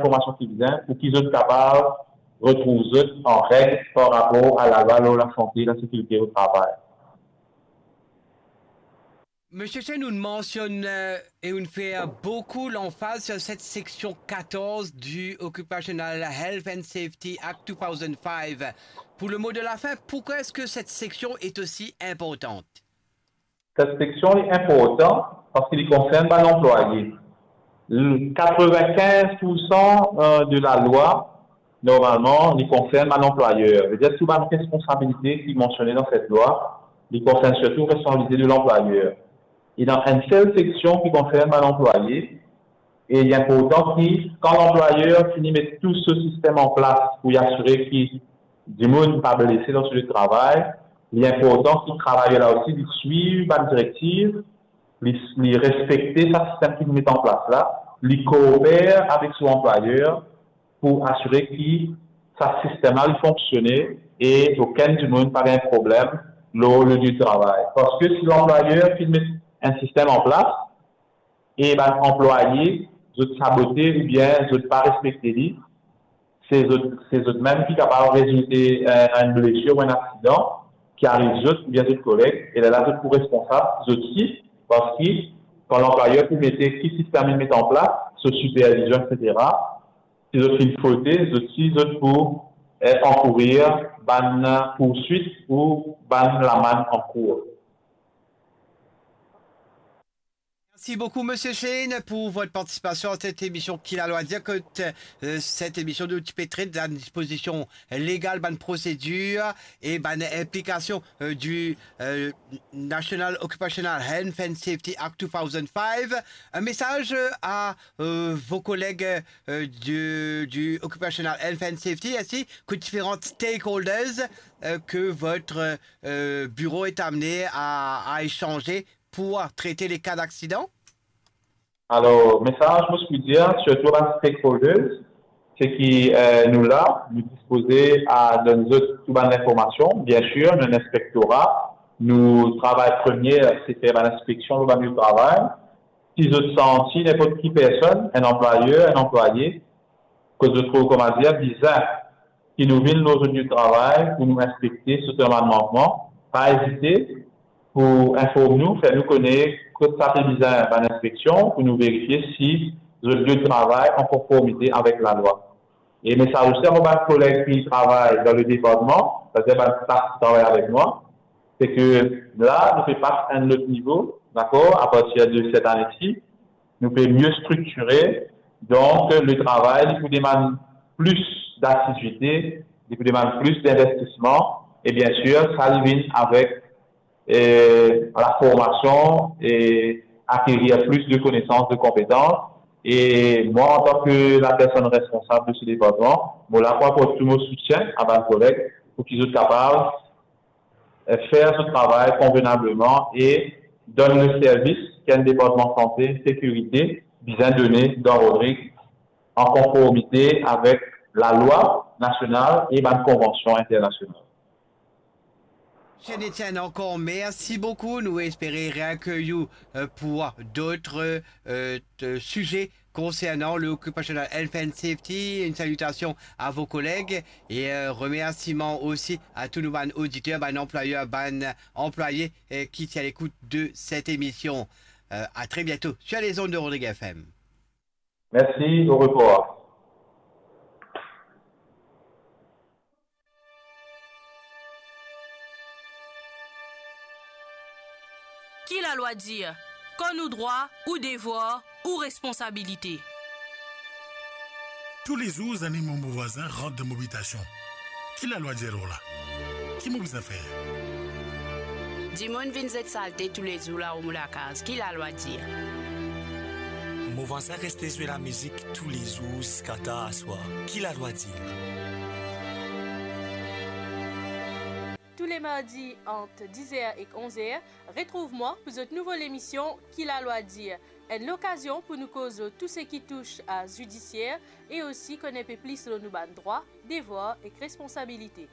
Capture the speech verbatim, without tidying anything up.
Formasion ki bizin pou ki zot kapav retrouv zot an reg par rapor a lalwa lor lasante e lasekirite o travay. Monsieur Chen, on mentionne, euh, et on fait beaucoup l'emphase sur cette section quatorze du Occupational Health and Safety Act deux mille cinq. Pour le mot de la fin, pourquoi est-ce que cette section est aussi importante ? Set seksion li inportan parski li konsern bann anplwaye. L-, quatre-vingt-quinze pour cent, euh, de lalwa, normalman, li konsern bann anplwayer. Vedir tou bann responsabilite ki mansione dan set lwa, li konsern sirtou responsabilite de lanplwayer. E dan enn sel seksion ki konsern bann anplwaye, e li inportan ki, kan lanplwayer fini met tou so sistem an plas pou li asire ki dimoun pa blese dan so lie de travay, li inportan ki travayer la osi li swiv bann direktiv, li, li respekte sa sistem ki nou met an plas la, li kooper avek so anplwayer pou asire ki sa sistem la li fonksione e okenn dimoun pa gagn problem lor le lie de travay. Parski si lanplwayer finn met enn sistem an plas, e bann anplwaye, zot sabote oubien zot pa respekte li, se zot, se zot mem ki kapav rezoulte, eh, enn blesir ou enn aksidan ki ariv zot oubien zot koleg, e lerla zot pou responsab, zot osi, parski kan lanplwayer pou mete ki sistem li met an plas, so sipervizion, etsetera, si zot finn fote, zot osi, zot pou, eh, ankourir bann pourswit ou bann lamann ankour. Merci beaucoup, Monsieur Shane, pour votre participation à cette émission Ki Lalwa Dir. Kot, euh, cette émission, nou ti pe tret la disposition légale, bann prosedir e bann inplikasion, euh, du, euh, National Occupational Health and Safety Act deux mille cinq. Un message, euh, à, euh, vos collègues, euh, du, du Occupational Health and Safety, ainsi que différents stakeholders, euh, que votre, euh, bureau est amené à, à échanger pour traiter les cas d'accident ? Alor, mesaz mo ti pou dir, sirtou bann stakeholders, se ki, eh, nou la, nou dispoze a donn zot tou bann linformasion. Biensir, nou enn inspektora, nou travay premie, se fer bann inspeksion lor bann lie de travay. Si zot santi ninport ki personn, enn anplwayer, enn anplwaye, kot zot trouv, kouma dir, bizin ki nou vinn lor zot lie de travay pou nou inspekte, si zot ena bann mankman, pa ezite pou inform nou, fer nou kone kot sa pe bizin bann inspeksion, pou nou verifie si zot lie de travay an konformite avek lalwa. E mesaz osi a mo bann koleg ki travay dan le departman, setadir bann staf ki travay avek mwa, se ke la, nou pe pas enn lot nivo, dakor, apartir de set ane-si, nou pe mie striktire, donk, le travay, li pou demann plis dasizite, li pou demann plis dinvestisman, e biensir, sa li vinn avek, eh, laformasion e akerir plis de konesans, de konpetans. E mwa, antan ke lapersonn responsab de se departman, mo la pou aport tou mo soutien a bann koleg pou ki zot kapav, eh, fer zot travay konvenableman e donn le servis ki enn departman sante, sekirite bizin done dan Rodrig, an konformite avek lalwa nasional e bann konvansion internasional. Monsieur Etienne, encore merci beaucoup. Nous espérons réaccueillir, euh, pour d'autres, euh, t-, sujets concernant le Occupational Health and Safety. Une salutation à vos collègues et, euh, remerciements aussi à tous nos bann auditeurs, bann anplwayer, bann anplwaye, euh, qui sont à l'écoute de cette émission. Euh, à très bientôt sur les ondes de Rodrig F M. Merci, au revoir. Ki lalwa dir? Kan nou drwa, ou devwar, ou responsabilite. Toulezour, zanimo mo vwazin rant dan mo bitasion. Ki lalwa dir lor la? Ki mo bizin fer? Dimoun vinn zet salte toulezour lao mo lakaz. Ki lalwa dir? Mo vwazin reste zwe lamizik toulezour ziska tar aswar. Ki lalwa dir? Tous les mardis entre dix heures et onze heures, retrouve-moi pour cette nouvelle émission Ki lalwa dir, une occasion pour nous causer tout ce qui touche à judiciaire et aussi connaître un peu plus sur nos bann droits, devoirs et responsabilités.